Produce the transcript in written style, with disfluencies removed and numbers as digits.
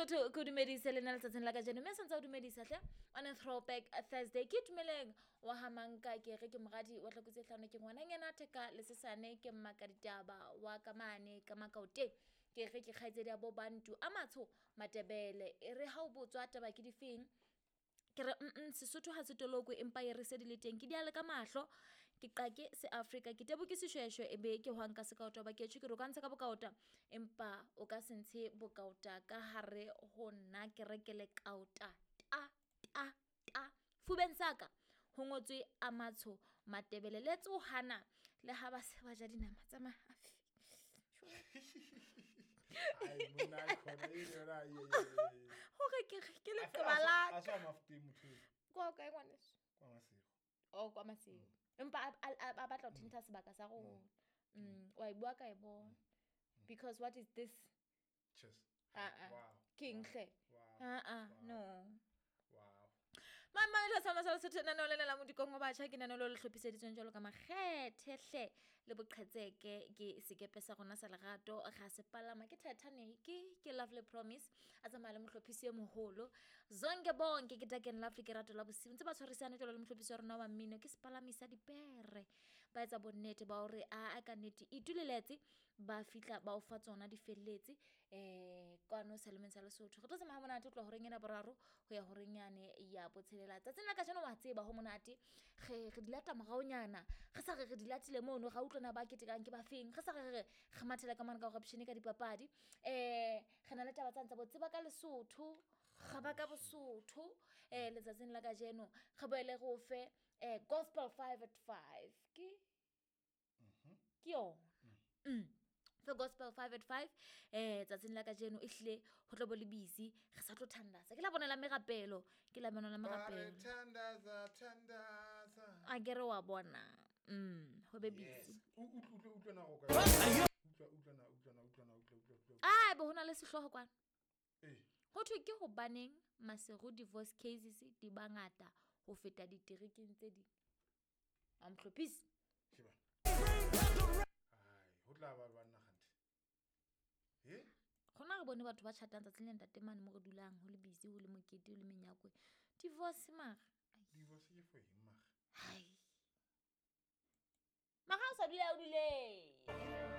Sesotho ke o dumedise le nna letsatsing la kajeno, mme santse o dumedisa hle on a throwback Thursday. Ke itumeleng wa ha manka, ke re ke moradi wa tlhako tse hlano, ke ngwananyana theka le sesane, ke mmaka ditaba wa ka mane ka Makaoteng. Ke re ke kgaitsedi ya bo Bantu a matsho Matebele. E re ha o botswa taba ke difeng, ke re Sesotho ha se tolokwe, empa e re se di le teng ke diale ka mahlo, ke qake se Afrika, ke tebo ke seshweshwe, e be ke hwang ka sekaota ba ketjho, ke re o ka ntsha ka bokaota empa o ka se ntshe bokaota ka hare ho nna, ke re ke le kaota ta ta ta fubeng sa ka ho ngotswe a matsho Matebele. Le tsohana le ha ba se ba ja dinama tsa mahafi. Ai, monna, ai, khona, e yona, ai, ai, ai, ai. Hore ke re ke A leqeba la a se wa Mafoteng motho eo. Kwa kae ngwaneso? Kwa Maseru. Oh, kwa Maseru. Empa a batla ho thintha sebaka sa rona. Wa e bua ka e bona. Because what is this? Cheers. Ah, ah. Wow. Ke eng hle? Wow. Ah, ah, Wow. no. Wow. Mama le sa masala setho nano le la modikong wa batjha, ke nano le le hlophiseditsweng jwalo ka makgethe hle le boqhetseke, ke sekepe sa rona sa lerato ga se palama ke Titanic, ke Lovely Promise a tsamaya le mohlophisi e moholo Zonke Bonke, ke Dark and Lovely, ke rato la bosiu ntse ba tshwarisane jwalo le mohlophisi wa rona wa mmino, ke sepalami sa dipere. Ba etsa bonnete ba hore a ka nnete ituleletse ba fihla ba o fa tsona di felletse kwano Selemeng sa Lesotho. Re tlo tsamaya ha monate ho tloha horeng ena boraro ho ya horeng yane ya botshelela. Tsatsing la kajeno wa tseba ho monate, re di lata moraonyana, re sa re re di latile mono, ra utlwana ba ketekang ke ba feng, re sa re re re mathela ka mane ka corruption ka dipapadi. Re na le taba tsane tsa bo tseba ka Lesotho, ga ba ka Bosotho. Letsatsing la kajeno re boele re o fe gospel 5 at 5. Ke ke yona. Fe gospel 5 at 5 tsatsing la kajeno ehlile ho tlo bo le busy, re sa tlo thandaza. Ke la bona la merapelo, ke la bona la Ba re merapelo. thandaza, thandaza. A ke re wa bona. Ho be busy. Yes. Utlwa, utlwa na go kae? Utlwa, utlwa na, utlwa na, utlwa na, utlwa, utlwa, utlwa. Ah, bo hona le sehlooho kwana. Eh. Ho thwe ke hobaneng Maseru divorce cases di bangata ho feta diterekeng tse ding. A mohlophisi. Ke ba. Ai, ho tla ba banna kganthe. Eh? Gona re bone batho ba chatang tsatsing le ntate mane mo re dulang, ho le busy, ho le mokete, ho le menyakwe. Divorce mara. Ai. Divorce ke for eng mara? Hai. Mara o sa dule o dule.